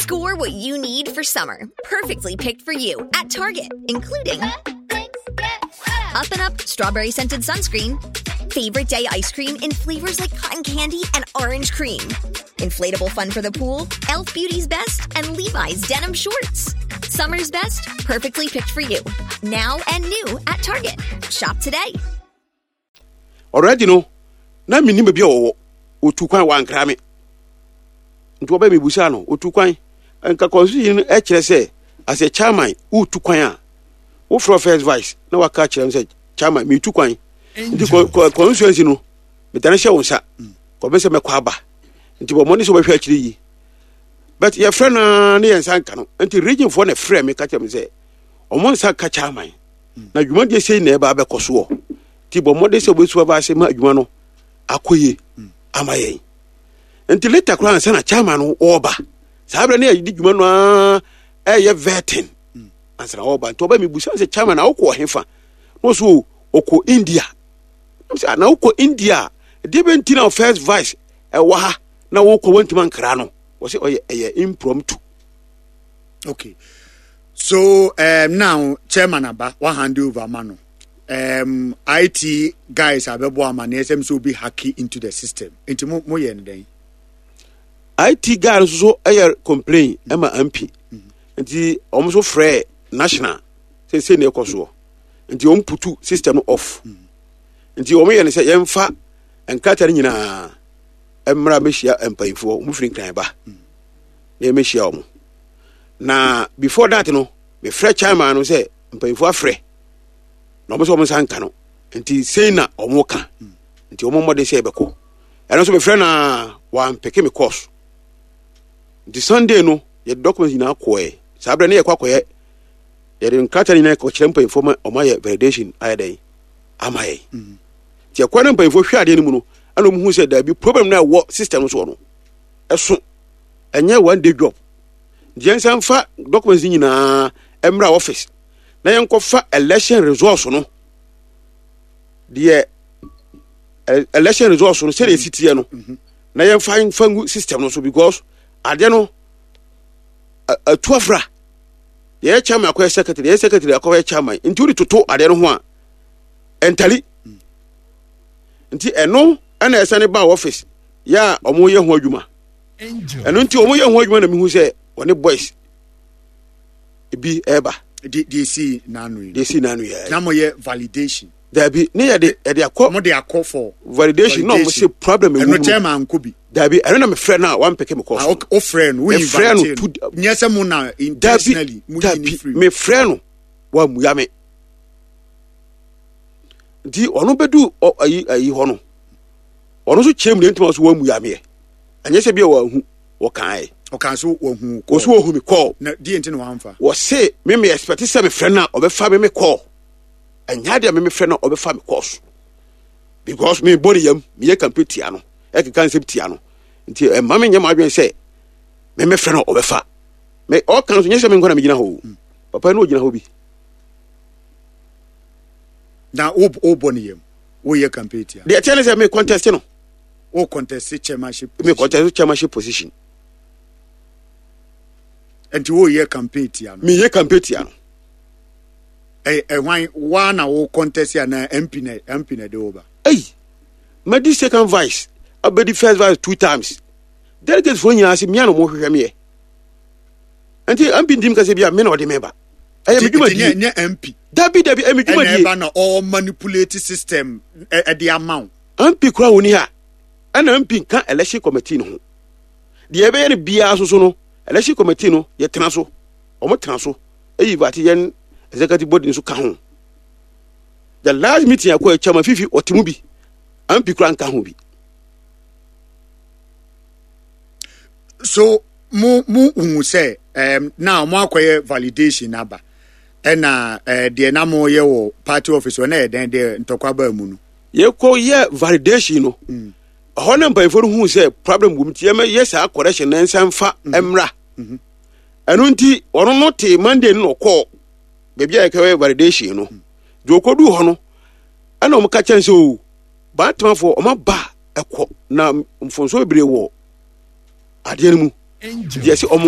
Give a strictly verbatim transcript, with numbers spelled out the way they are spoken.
Score what you need for summer. Perfectly picked for you at Target, including Up and Up strawberry scented sunscreen, favorite day ice cream in flavors like cotton candy and orange cream, inflatable fun for the pool, Elf Beauty's best, and Levi's denim shorts. Summer's best, perfectly picked for you. Now and new at Target. Shop today. Already no, na menim baabi a wɔwɔ. Otu kwan, wankra me, nti wɔbɛ mebusa no, otu kwan. Nka constitution no ɛkyerɛ sɛ as a chairman, wotu kwan a, wofrɛ first vice na waka kyerɛ no sɛ, "Chairman, metu kwan, nti constituency no metane hyɛ wo nsa kɔbɛ sɛ mɛkɔ aba, nti bɔ mmɔden sɛ wobɛhwɛ akyire yi." But yɛfrɛ no ne yɛn nsa nka no, nti region foɔ na frɛ me ka kyerɛ me sɛ ɔmo nsa ka chairman na dwumadie sei na ɛba abɛkɔ soɔ, nti bɔ mmɔden sɛ wobɛsu aba ase ma adwuma no akɔ yie ama yɛn. Nti later koraa ansa na chairman no ɔɔba, saa berɛ ne yɛde dwuma no a ɛyɛ vetting ansa na ɔɔba. Nti ɔba, mebusa sɛ, "Chairman, na wokɔ ɔhefa?" Na ɔso ɔkɔ India. Sɛ na wokɔ India a, deɛ bɛnti na first vice ɛwɔ ha na wokɔ wantumi ankra no? Wɔ sɛ ɔyɛ ɛyɛ impromptu. Okay, so um, now chairman aba, wa hand over ama no. um, I T guys abɛbɔ ama na ɛsɛm sɛ obi hack into the system, nti mo mo yɛ no dɛn? I T guy nso so ɛyɛ complain ɛma M P, nti wɔn nso frɛ national sɛ sɛ na ɛkɔ soɔ, nti wɔn put system no off. Nti wɔn yɛ no sɛ yɛmfa nkrataa no nyinaa mmra mɛhyia mpanyinfoɔ. Wɔn firi Nkran ba na yɛmɛhyia wɔn. Na before that no, mefrɛ chairman no sɛ mpanyinfoɔ afrɛ na wɔn sɛ wɔn nsa nka no, nti sei na wɔn ka, nti wɔn mmɔden sɛ yɛbɛkɔ. Ɛno nso mefrɛ na wɔampick me calls. Nti Sunday no, yɛde documents nyinaa kɔɛ. Saa berɛ ne yɛkɔ akɔyɛ, yɛde nkrataa no nyinaa kɔkyerɛ mpanyinfoɔ ma ɔmo ayɛ validation ayɛ dɛn ama yɛn. Nti ɛkɔ no, mpanyinfoɔ hwɛ adeɛ no mu no, ɛna ɔmo hu sɛ daabi, problem no a ɛwɔ system no soɔ no ɛso, ɛnyɛ one day job. Nti yɛn nsa nfa documents no nyinaa mmra office na yɛnkɔfa election results no deɛ, election results no sɛdeɛ esi teɛ no, na yɛmfa nfa ngu system no so, because adeɛ no atu afra. Yɛyɛ chairman akɔyɛ secretary, yɛyɛ secretary akɔyɛ chairman, nti wode toto adeɛ no ho a, ɛntally. Nti ɛno ɛna ɛsane ba office yɛ a ɔmo yɛ ho adwuma. Ɛno nti ɔmo yɛ ho adwuma na mehu sɛ ɔne boys ebi ɛɛba. De de esi n'ano yi? De esi n'ano yɛ. Na mo yɛ validation? Dabi, ne yɛ de yɛde akɔ. Mo de akɔ for validation, na ɔmo sɛ problem ewu mu. Ɛno chairman nko bi? Dabi, ɛno na mefrɛ no a wampicke me call. Ah, o frɛ no, wo invite no? Nyɛ sɛ mo na intentionally mo yi ne free? Mefrɛ no, wamuya me. Nti ɔno bɛdu ayi ayi hɔ no, ɔno nso kyerɛ mu deɛ ntoma so wamuya meɛ. Ɛnyɛ sɛ bi a wahu, wɔkae. Ɔka so wahu? Kɔ so wahu me call. Na deɛ nti na wamfa? Wɔse me me expect sɛ mefrɛ no a, ɔbɛfa me me call. Ɛnyɛ adeɛ a me mefrɛ no a, ɔbɛfa me call so, because me bɔ ne yam, meyɛ campaign tia no, ɛkeka nsɛm tia no, nti ɛma me nyɛ m'adwene sɛ me mefrɛ no a, ɔbɛfa me. Ɔka no so nyɛ sɛ me nkɔ na megyina hɔ o, papa no ɔgyina hɔ bi. Na wo wobɔ ne yam, woyɛ campaign tia? Deɛ ɛkyɛ ne sɛ me contest no. Wo contest chairmanship? Me contest chairmanship position. Nti woyɛ campaign tia no? Meyɛ campaign tia no. Ɛ ɛhwan waa na wo contest ana M P na M P na de wo ba? Ei, madi second vice, abɛdi first vice two times. Delegates foɔ nyinaa sɛ mia na ɔmo hwehwɛ meɛ, nti M P ntim kasa bi a me na ɔde me ba. Ɛyɛ me dwumadie. Nyɛ M P? Dabi, dabi, ɛyɛ me ɛna dwumadie. Ɛba na ɔ manipulate system ɛde ama wo? M P kura wɔn ni ha, ɛna M P nka election committee no ho. Deɛ ɛbɛyɛ no biara soso no, election committee no yɛtena so, wɔn tena so eyi baate yɛn executive body nso ka ho. The last meeting akɔ, chairman Fifi ɔte mu bi, M P kura nka ho bi. So mo mo hu sɛ um, now mo akɔyɛ validation aba, ɛna uh, deɛ na mo yɛ wɔ party office hɔ na yɛ dɛn deɛ ntɔkwa baa mu no? Yɛkɔ yɛ validation no, ɛhɔ na mpanyinfoɔ no hu sɛ problem wɔ mu, nti yɛmɛ yɛ saa correction na nsa nfa mmra. Ɛno nti ɔno no te Monday no na ɔkɔɔ baabi a yɛkɛyɛ validation no. Deɛ ɔkɔduu hɔ no, ɛna ɔmo ka kyɛn sɛ o baatemafoɔ ɔmo aba ɛkɔ na mfonso bebree wɔ adeɛ no mu, deɛ sɛ ɔmo